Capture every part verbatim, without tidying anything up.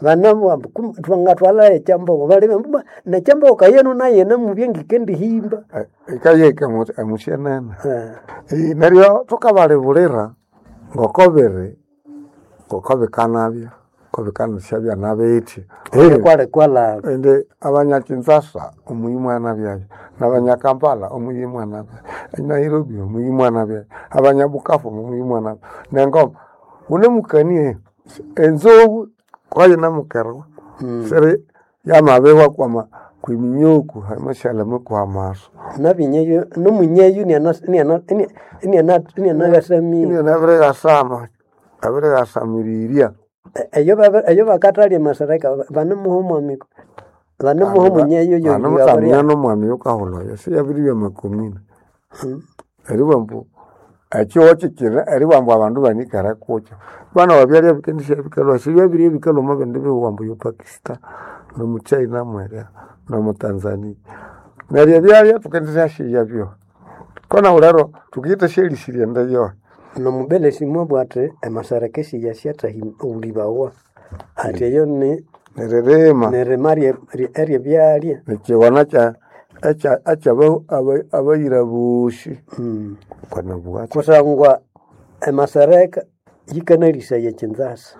Banabugha ambu kum- twangatwala ekyambogo balebe ambu "Bwa, nekyambogo kayenu nayene mubye ngikendihimba Ikayeka emusyenene Eh, Eh, neryo thukabalibulira ngokobiri ngokobikanabya ngokobikanasyabya nabitya Kwali kwalaba indi abanyakinshasa omuyi mwanabyayo nabanyakampala omuyi mwanabyayo eNairobi omuyi mwanabyayo abanyabukavu omuyi mwanabyayo nengoma wunemukanie enzobu kwayinamukerwa Mm. siri yamabihwa kwama kwiminyuku hamashaleme kwamaso nabinyeyo nomunyeyo inianagasamia inyanabirighasama abirighasamirirya eyo babe- eyo bakathalya emasereka banemuha omwami banemuha omunyeyo vanemutsamia nomwami yukahulha oyo siyabiribya makumina eribugha ambu ekihugho kikiri eribugha ambu abandu banikere kukyo bana wabyalya bikendisya bikalhwa sibyabirye bikalhwa omo bindi bihugho ambu yo Pakistan nomu China mwerya nomu Tanzania neryo ebyalya thukendisyasyigha byoho kona lero thukiyitha syalisirya ende yoho nomubelesi mwabugha athi emasereka esiyasyathahulhibawa athi eyo ni neririma nirima rye- rye- eryebyalya nekighona kya ekya abayira bosi Mm. kwanabugha kusangwa emasereka yikanalisaya ekinzasa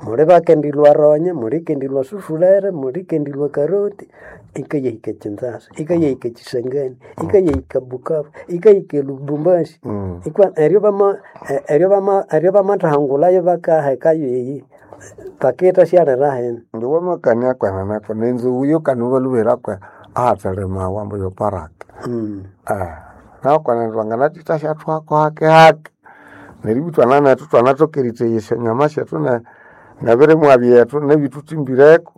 muli bakendilwa ronya mulikendilwa sufurere mulikendilwa karoti ikayahika kinzasa ikayahika kisangani ikayahika bukavu ikayahika lubumbashi Mm. ikwa eryo bama e- eryo bama eryo bamathahangulayo bakahekayo eyi bakita syalira hene Ndi wamakania kwenene nenzowu yokanubalubera kwe ahathalimawa ambu yoparaka mm. Ah, nakwenene twanganathitha syathwako hake hake neryo ibwa thwananethu thwanathoka erithegha esyanyama syethu ne- nebirimwa byethu nebithuthimbireko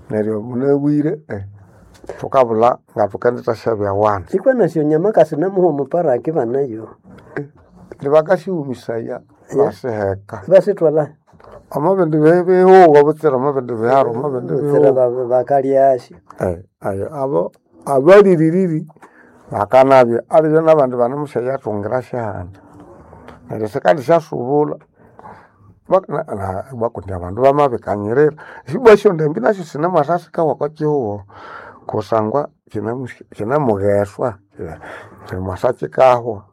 neryo munabwire eh, thukabulha ngathukendithasyabya wandi ikwa nasyo nyama kasinamuha omuparaki banayo nibakasyihumisaya basiheka basithwala omo bindi bi- bihugho butsira omo bindi biharo omo bindi butsira bihugho ba- bakalyasyo Eh, ayo abo abaliririri bakanabya alibyo nabandi banemusyayathungira syahandi neryo sikandi syasubula Bak- na- na- bakundi abandu bamabikanyirira esibwa esyondambi nasyo sinemwasa sikawa okwa kihugho kusangwa kinamu- kinamugheswa kimwasa kikahwa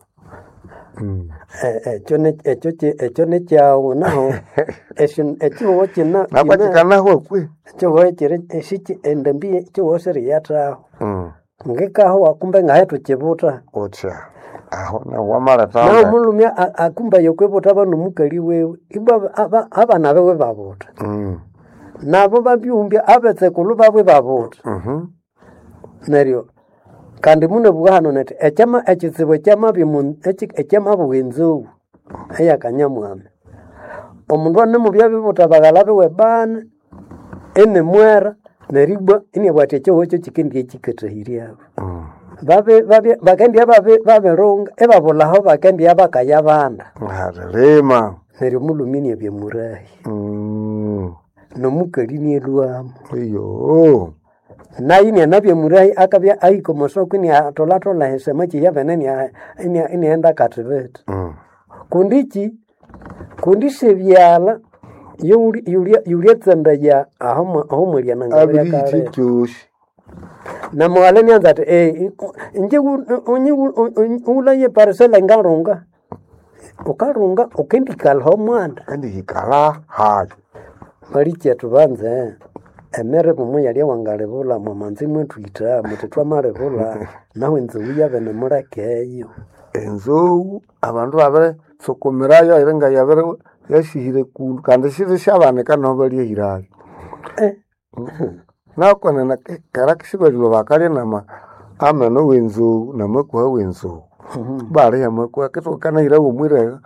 Mm. Eh, ekyo ne- ekyo ki- ekyo nekyawu naho esyo ekihugho kina nakwa kina- kikanahwa kwe ekihugho kiri esiki endambi ekihugho siriyathaho Mm. ngikahowa kumbe ngahe thukibuta utya aho nawo wamaletha naho omulhume a- akumba yokwibutha banomukali wiwe ibwa aba- abana biwe babuta Mm. nabo babyumbya abetsekulhu babwe babuta Mhm. neryo kandi munabugha hano nethi ekyama ekitsibu ekyamabya omu- eki- ekyamabugha enzou eyakanyamwami omundu anemubya bibuta baghala biwe bana inimwera neryo ibwa inabugha athi ekihugho ekyo kikendibya kikathahiryabo Mm. babe babe bakendibya babe babirunga ibabulhaho bakendibya bakayabanda Harilima neryo omulhume inabya murahi Mm. nomukali inalhwamo iyo nayo inianabya murahi akabya ahika omwasoko iniatholathola esyamakyi yabene iniaghenda akathibitha Mm. kundi iki kundi sebyalha yulyatsandaya aho abiriyithi mwalyananga kyosi namughala nianza ati "Eh, inje wulaye parisela ngarunga ukarunga ukendikalha omwanda kandi hikala hayi malikyethu banze emere mumuyalya wangalibulha mwamanzi mwethwitha muthi thwamalibulha nahu enzou yabene mulekeyo enzou abandu babirisukumirayo iri nga yabiri yasihire kundu kandi siri syabanika naho balyahirayo Eh, nakwenene kera kisibalilwa bakalya nama ameno wenzou namakuha wenzou baliha amakuha kithukanahirawo omwirega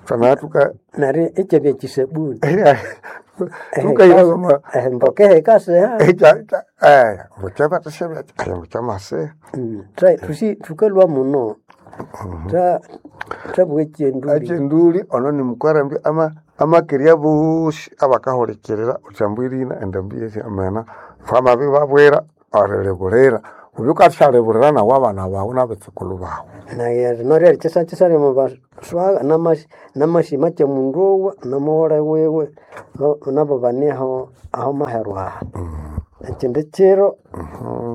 thwanathuka neryo ekyabya kyisabuni thukahirawo ama emboka ehikasiha mukyabathasya mukyamasiha Mm, tha- thusi thukalhwa muno tha thabugha ekyenduli ekyenduli ono nimukwerembi ama amakerya bosi abakahulikirira uthi ambu irina endambi yesi amena thwamabibabwira erilibulira Ubyukathyalibulira nawe abana bawu nabitsukulhu bawu. Naye rino ryeri kyisakisa lyamabaswaga namasi namasima kyomundu owa nomughole wiwe no- nabo bane aho aho maheru aha. Ekindi kiro Mhm.